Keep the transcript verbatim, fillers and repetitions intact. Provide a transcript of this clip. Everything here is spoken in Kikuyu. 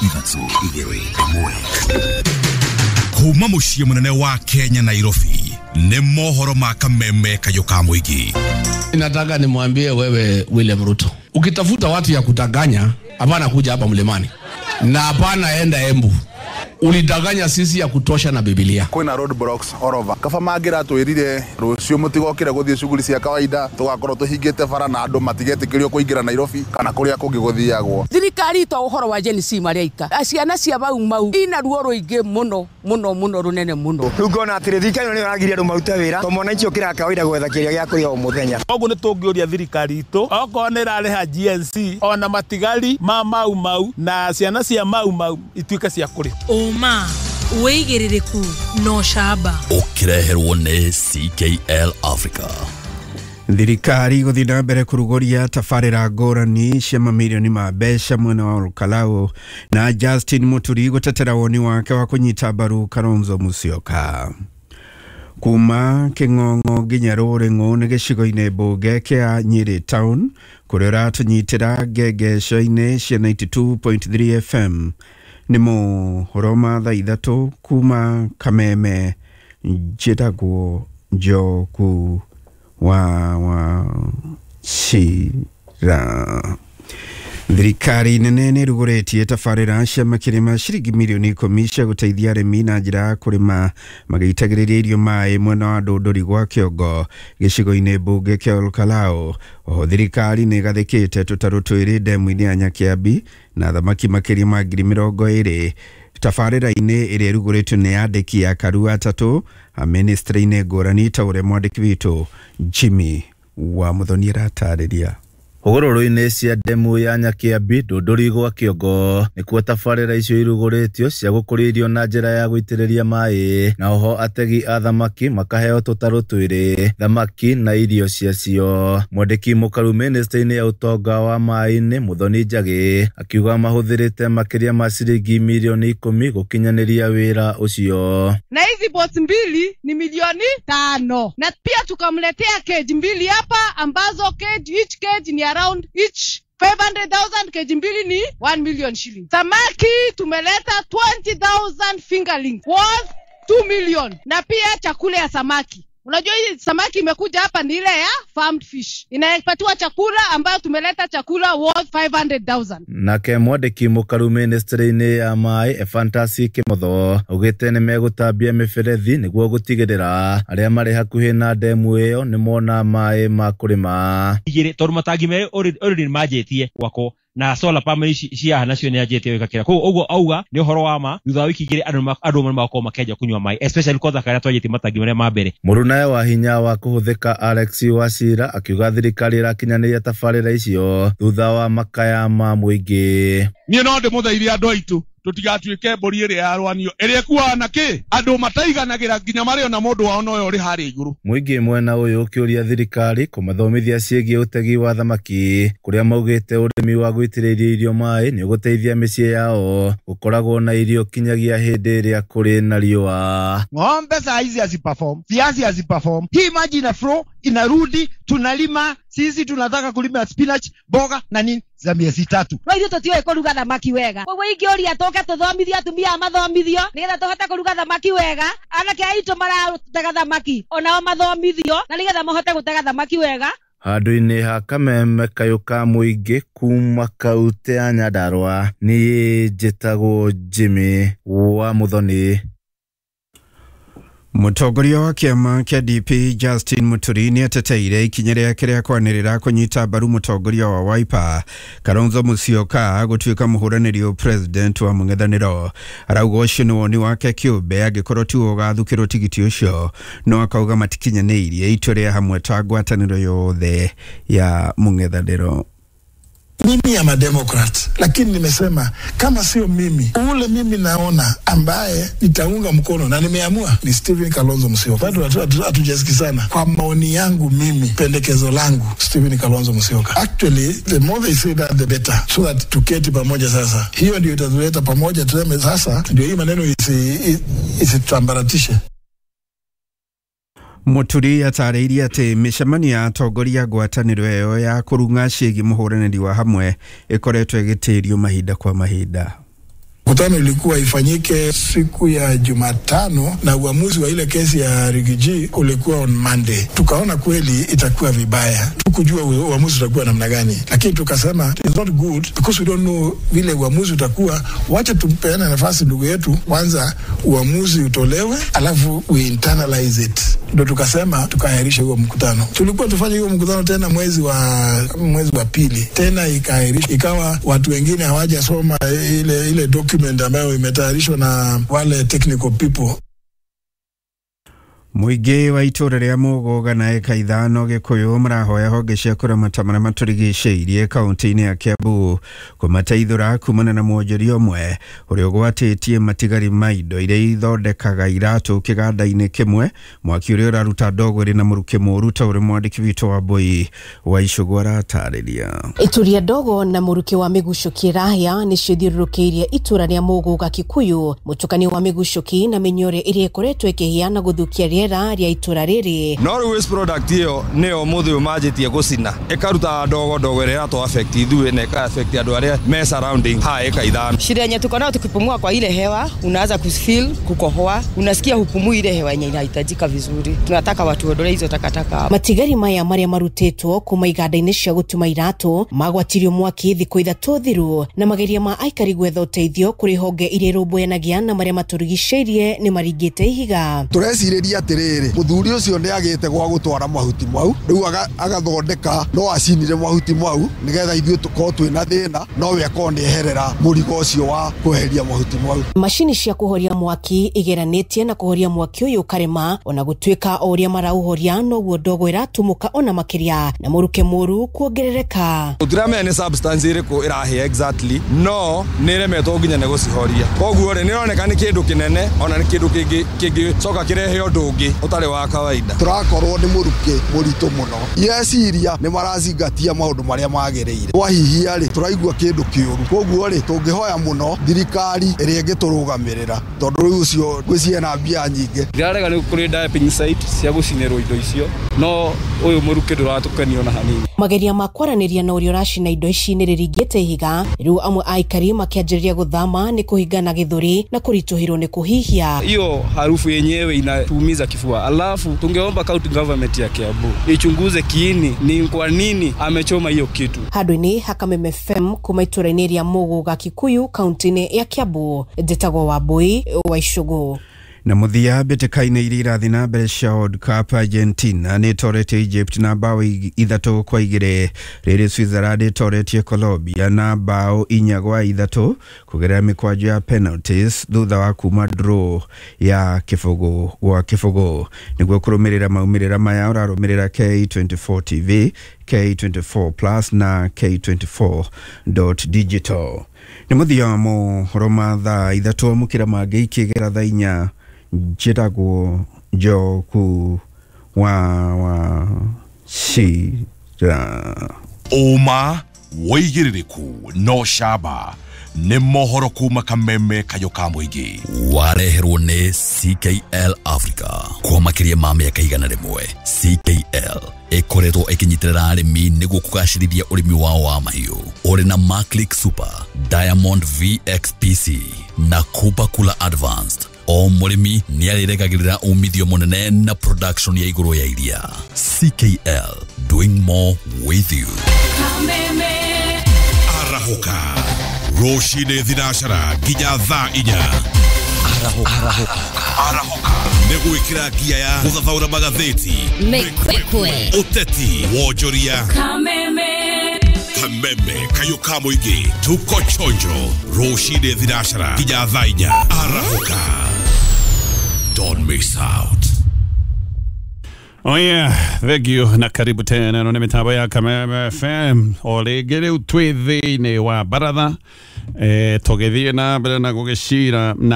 Ithatũ, igĩrĩ, ĩmwe. Kuma mũciĩ mũnene wa Kenya, Nairobi, nĩ mohoro ma Kameme Kayũ ka mũingĩ. Nataka nimwambie wewe William Ruto, ukitafuta watu ya kudanganya, hapana kuja hapa mlimani na hapana enda Embu. Ulidanganya sisi ya kutosha na Biblia. Kwĩna road blocks all over. Kaba mangĩratwĩrire rũciũ mũtigokĩre gũthiĩ shughuli cia kawaida, tũgakorwo tũhingĩte bara na andũ matigetĩkĩrio kũingĩra Nairobi kana kũrĩa kũngĩ gũthiagwo. Thirikari to ũhoro wa Gen Z marĩa ika ciana cia Mau Mau ina ruo rũingĩ mũno mũno mũno rũnene mũno. Rĩu ngona atĩrĩ, thirikari ĩno nĩyo ĩragiria andũ marute wĩra to mwananchi ũkĩraga kawaida gwetha kĩrĩa gĩa kũrĩa o mũthenya. Koguo nĩ tũngĩũria thirikari itũ okorwo nĩ ĩrarĩha G N C ona matigari ma Mau Mau na ciana cia Mau Mau ituĩke cia kũrĩha. Ũma, wĩigĩrĩrĩku na ũcamba. Ũkĩreherwo nĩ C K L Africa. Thirikari gũthiĩ na mbere kũrugũria tabarĩra ngũrani cia mamirioni ma mbeca mwena wa Olkalau, na Justin Muturi gũtetera woni wake wa kũnyita mbaru Kalonzo Musyoka. Kuma Kĩng'ong'o nginya Rũrĩng'ũ nĩ gĩcigo-inĩ mbunge kĩa Nyĩrĩ Town, kũrĩa ũratũnyitĩra ngengeco-inĩ cia mĩrongo kenda na igĩrĩ turuma ithatũ F M. Nĩ mohoro ma thaa ithatũ kuma Kameme. Njĩtagwo Njoku wa wa Cira. Thirikari nene nĩ ĩrugũrĩtie tabarĩra cia makĩria ma ciringi mirioni ikũmi cia gũteithia arĩmi na njĩra ya kũrĩma magĩitagĩrĩria irio maĩ mwena wa Ndũndũri gwa Kĩongo, gĩcigo-inĩ mbunge kĩa Olkalau. Oho thirikari nĩ ĩgathĩkĩte tũtarũ twĩrĩ ndemu-inĩ ya Nyakiambi na thamaki makĩria ma ngiri mĩrongo ĩrĩ. Tabarĩra-inĩ ĩrĩa ĩrugũrĩtio nĩ andĩki a karu atatũ a ministry-inĩ ngũrani, ta ũrĩa mwandĩki witũ Jimmy wa Mũthoni aratarĩria. Hũgũrũrũ-inĩ cia ndemu ya Nyakiambi, Ndũndũri gwa Kĩongo, nĩkuo tabarĩra icio irugũrĩtio cia gũkũria irio na njĩra ya gũitĩrĩria maĩ, na oho ategi a thamaki makaheo tũtarũ twĩrĩ, thamaki na irio ciacio. Mwandĩki mũkaru mĩnĩstrĩ-inĩ ya ũtonga wa maĩ-inĩ Mũthoni Njagĩ akiuga mahũthĩrĩte makĩria ma ciringi mirioni ikũmi gũkinyanĩria wĩra ũcio. Na hizi boats mbili ni milioni tano, na pia tukamletea cage mbili hapa ambazo cage, each cage ni around each five hundred thousand, cage mbili ni one million shilling. Samaki tumeleta twenty thousand fingerlings worth two million, na pia chakula ya samaki. Unajua hii samaki imekuja hapa ni ile ya farmed fish, inapatiwa chakula ambayo tumeleta chakula worth five hundred thousand. Nake mwandĩki mũkaru mĩnĩstrĩ-inĩ ya maĩ Ephantus Kĩmotho augĩte nĩ megũtambia mĩberethi nĩguo gũtigĩrĩra arĩa marĩ hakuhĩ na ndemu ĩyo nĩ mona maĩ ma kũrĩma. Igĩrĩ, tondũ matangi merĩ already nĩ manjĩtie gwakwo na solar pump ici cia nacio nĩ anjĩtie gwĩkĩra. Koguo ũguo auga nĩ ũhoro wa ma, thutha wa wiki igĩrĩ andũ andũ nĩ magakorwo makĩanjia kũnyua maĩ, especially kwanza karĩa twanjĩtie matangi marĩa ma mbere. Mũrunawe wa hinya wa kũhũthĩka Alex Wachira akiuga thirikari ĩrakinyanĩria tabarĩra icio thutha wa makaya ma mũingĩ. Niĩ no ndĩmũthaithie andũ aitũ tũtigatuĩke mbũri ĩrĩa yarwanio ĩrĩa ĩkuaga na kĩ andũ mataiganagĩra nginya marĩ ona mũndũ wao noyo ũrĩ harĩa igũrũ. Mũingĩ mwena ũyũ ũkĩũria thirikari kũmathomithia ciĩgiĩ ũtegi wa thamaki, kũrĩa maugĩte ũrĩmi wa gũitĩrĩria irio maĩ nĩ ũgũteithia mĩciĩ yao gũkoragwo na irio kinyagia hĩndĩ ĩrĩa kũrĩ na riũa. Ng'ombe saa hizi haziperform, viazi haziperform. Hii maji ina flow inarudi, tunalima sisi tunataka kulima spinach, mboga na nini za miezi tatu. No ithuĩ tũtiũĩ kũruga thamaki wega, koguo ingĩũria tũke tũthomithio, atumia mathomithio nĩgetha tũhote kũruga thamaki wega. Anake aitũ maratega thamaki onao mathomithio na nĩgetha mahote gũtega thamaki wega. Handũ-inĩ ha Kameme kayũ ka mũingĩ kuma kaunti ya Nyandarua, niĩ njĩtagwo Jimmy wa Mũthoni. Mũtongoria wa kĩama kĩa D P Justin Muturi nĩ ateteire ikinya rĩake rĩa kwanĩrĩra kũnyita mbaru mũtongoria wa Wiper Kalonzo Musyoka gũtuĩka mũhũranĩri president wa mũng'ethanĩro. Arauga ũcio nĩ woni wake kĩũmbe, angĩkorwo tiwe ũgathukĩrwo tigiti ũcio, no akauga matikinyanĩirie itua rĩa hamwe ta ngwatanĩro yothe ya mũng'ethanĩro. Mimi am a Democrat, lakini nimesema kama sio mimi, ule mimi naona ambaye nitaunga mkono na nimeamua ni Stephen Kalonzo Musyoka. Bado hatujasikizana. Kwa maoni yangu mimi, pendekezo langu Stephen Kalonzo Musyoka. Actually, the more they say that the better, so that tuketi pamoja sasa. Hiyo ndio itatuleta pamoja, tuseme sasa ndio hii maneno isitambaratishe. Muturi atarĩirie atĩ mĩcemanio ya atongoria ngwatanĩro ĩyo ya kũrung'a ciĩgiĩ mũhũranĩri wa hamwe ĩkoretwo ĩgĩtĩrio mahinda kwa mahinda. Mkutano ilikuwa ifanyike siku ya Jumatano na uamuzi wa ile kesi ya Rigiji ulikuwa on Monday. Tukaona kweli itakuwa vibaya, tukujua uamuzi utakuwa namna gani, lakini tukasema it's not good because we don't know vile uamuzi utakuwa. Wacha tumpeane nafasi ndugu yetu, kwanza uamuzi utolewe, alafu we internalize it. Ndio tukasema tukaahirisha huo mkutano. Tulikuwa tufanye huo mkutano tena mwezi wa mwezi wa pili, tena ikaahirishwa, ikawa watu wengine hawajasoma ile ile document ambayo imetayarishwa na wale technical people. Mũingĩ wa itũũra rĩa Mũgũga na eka ithano Gĩkũyũ marahoya honge cia kũramata marĩa matũrigicĩirie kaunti-inĩ ya Kiambu kũmateithũra kumana na mwonjoria ũmwe ũrĩa ũgwatĩtie matigari ma indo iria ithondekaga iratũ kĩganda-inĩ kĩmwe, mwaki ũrĩa ũraruta ndogo ĩrĩ na mũrukĩ mũũru ta ũrĩa mwandĩki witũ wa Mbui wa Icũgũ aratarĩria. Ituria ndogo na mũrukĩ wa mĩgucũki ĩrahĩa nĩcio ithiũrũrũkĩirie itũũra rĩa Mũgũga Kikuyu, mũtukanio wa mĩgucũki na mĩnyore ĩrĩa ĩkoretwo ĩkĩhĩa na gũthũkia rĩera rĩa itũũra rĩrĩ. No rĩu waste product ĩyo nĩyo mũthĩ ũyũ manjĩtie gũcina ĩkaruta ndogo ndogo ĩrĩa ĩratũ affect ithuĩ na ĩka affect andũ arĩa me surrounding ha ĩka ithano. Shida yenye tuko nayo, tukipumua kwa ile hewa unaanza kufeel kukohoa, unasikia hupumui ile hewa yenye inahitajika vizuri. Tunataka watu waondoe hizo takataka. Matigari maya marĩa marutĩtwo kuma iganda-inĩ cia gũtuma iratũ magwatirio mwaki thikũ ithatũ thiru, na mageria ma aikari gwetha ũteithio kũrĩ honge iria irũmbũyanagia na marĩa matũrigicĩirie nĩ maringĩte ihiga. Tũrecirĩria atiriri, muthuri ucio ni agite gwa gutwara mahuti mau, riu agathondeka no acinire mahuti mau nigetha ithuĩ tukorwo twina thina, no we akorwo ni eherera murigo ucio wa kweheria mahuti mau. Macini cia kuhoria mwaki igeranĩtie na kuhoria mwaki ũyũ karema, ona gũtuĩka o ũrĩa marauhoria noguo ndogo ĩratumuka ona makĩria na mũruke mũru kuongerereka. Tũtiramenya nĩ substance ĩrĩkũ ĩrahĩa exactly, no nĩ ĩremetwo nginya nĩ gũcihoria, koguo rĩ nĩroneka nĩ kĩndũ kĩnene ona nĩ kĩndũ kĩngĩ kĩngĩcoka kĩrehe ũndũ ũngĩ ũtarĩ wa kawaida. Tũrakorwo nĩ mũrukĩ mũritũ mũno, yeciria nĩ marazingatia maũndũ marĩa magĩrĩire, twahihia rĩ tũraigua kĩndũ kĩũru, koguo rĩ tũngĩhoya mũno thirikari ĩrĩa ĩngĩtũrũgamĩrĩra, tondũ rĩu ũcio ngwĩciria na mbia nyingĩ. Ndirarega nĩ kũrĩ dumping site cia gũcinĩrwo indo icio, no ũyũ mũrukĩ ndũratũkenia ona hanini. Mageria ma kwaranĩria na ũrĩa ũracina indo ici nĩ rĩringĩte ihiga, rĩu amwe a aikari makĩanjĩrĩria gũthama nĩ kũhingana gĩthũri na kũritũhĩrwo nĩ kũhihia. Hiyo harufu yenyewe inatuumiza kifua. Alafu tungeomba county government ya Kiambu ichunguze kiini ni kwa nini amechoma hiyo kitu. Handũ-inĩ ha Kameme F M kuma itũũra-inĩ rĩa Mũgũga Kikuyu kaunti-inĩ ya Kiambu, njĩtagwo Wambui wa Icũgũ. Na mũthia mbĩtĩka-inĩ iria irathiĩ na mbere cia World Cup, Argentina nĩ ĩtoretie Egypt na bao ithatũ kwa igĩrĩ, rĩrĩ Switzerland ĩtoretie Colombia na bao inya gwa ithatũ kũgerera mĩkwanjo ya penalties thutha wa kuma draw ya kĩbũgũ gwa kĩbũgũ. Nĩguo kũrũmĩrĩra maumĩrĩra maya ũrarũmĩrĩra K twenty-four T V, K twenty-four Plus na K twenty-four dot digital. Nĩ mũthia wa mohoro ma thaa ithatũ, amũkĩra mangĩ ikĩgera thaa inya. Njĩtagwo Njoku wa wa Cira. Ũma wĩigĩrĩrĩku no camba nĩ mohoro kuma Kameme kayũ ka mũingĩ. Wareherwo nĩ C K L Africa kwa makĩria ma mĩaka igana rĩmwe. C K L ĩkoretwo ĩkĩnyitĩrĩra arĩmi nĩguo kũgacĩrithia ũrĩmi wao wa mahiũ. Ũrĩ na Maclick Super, Diamond V X P C na Kuba Kula Advanced. O mũrĩmi nĩ arĩregagĩrĩra umithio mũnene na production ya igũrũ ya iria. C K L, doing more with you. Kameme arahũka rũcinĩ thinacara nginya thaa inya. Arahũka arahũka nĩ gwĩkĩra ngia ya gũthathaũra magathĩti, mĩkwekwe, ũteti, wonjoria. Kameme Kameme kayũ ka mũingĩ, tuko chonjo rũcinĩ thinacara nginya thaa inya. Arahũka, don't miss out. Oh yeah, thank you na karibu tena no mitambo ya Kameme F M o rĩngĩ rĩu twĩ thĩinĩ wa baratha eh tũgĩthiĩ na mbere na gũgĩcira na